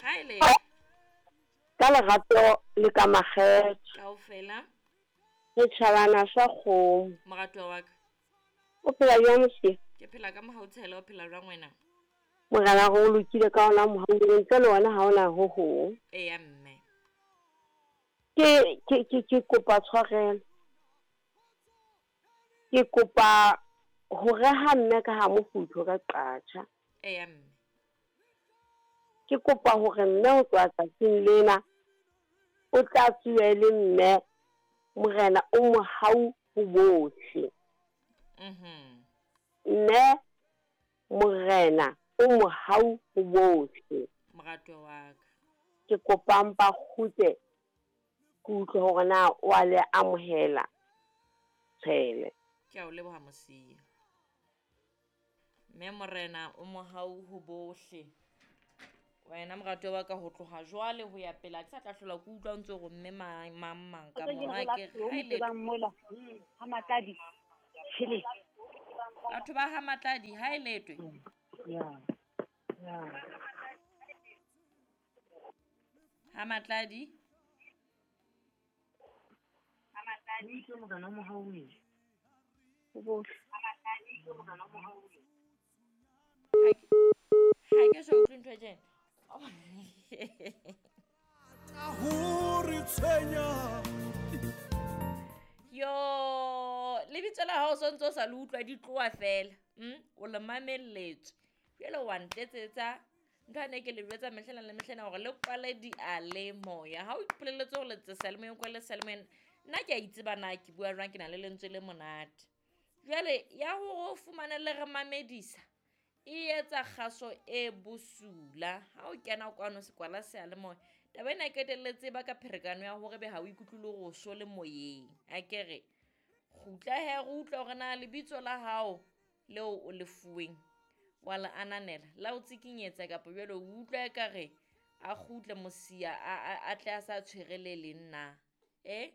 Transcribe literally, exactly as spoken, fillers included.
Haele. Ka lerato le ka makgethe. Kaofela. Re tjhabana sa kgomo. Moratuwa wa ka. O phela jwang mosia? Ke phela ka mohau Tshela, o phela jwang wena? Morena re o lokile ka ona mohau, ntle le wena ha ona ho hong. Eya mme. Ke ke ke ke kopa tshwarelo. Ke kopa ho reha mme ka ha mofuthu ka qatjha. Eya mme. Ke kopa hore mme ho tloha tsatsing lena o tla tsuwe le mme Morena o mohau ho bohle. Mhm. Mme Morena o mohau ho bohle. Moratuwa wa ka. Ke kopa mpa kgutle ke utlwe hore na o a le amohela Tshele. Ke a o leboha Mosia. Mme Morena o mohau ho bohle. Wena moratuwa wa ka ho tloha jwale ho ya pele, ha ke sa tla hlola ke utlwa o ntso re mme mang, mang, mang ka Ke mona re la ke o ha e le tsebang mola, ha Matladi, tjhele. Batho ba ha Matladi, ha e letwe. Ya. Ya. Ha Matladi. Ha Matladi ke Morena o mohau ho bohle. Ha ke so utlwe ntho e tjena. Hore tshwenya. Yo, lebitso la hao so ntso sa le utlwa di tloha fela. Mm, o le mamelletswe. Jwale wa ntletsetsa ntho ane ke le jwetsa mehlena le mehlena hore le kwale dialemoya. Ha o ipolelletse hore letsatsi seyalemoyeng, kwale seyalemoyeng. Nna ke a itseba na ke bua jwang, ke na le lentswe le monate. Jwale ya hore o fumane le re mamedisa e etsa kgaso e bosula. Ha o kena kwano sekwala seyalemoya, taba ena e qetelletse e baka pherekano ya hore ebe ha o ikutlwe le hore o so le moyeng. Akere kgutla he re utlwe hore na lebitso la hao leo o le fuweng wa le ananela, la o tsikinyetsa kapa jwale o utlwa ekare a kgutle Mosia a, a, a tle a sa tshwere le leng na? Eh?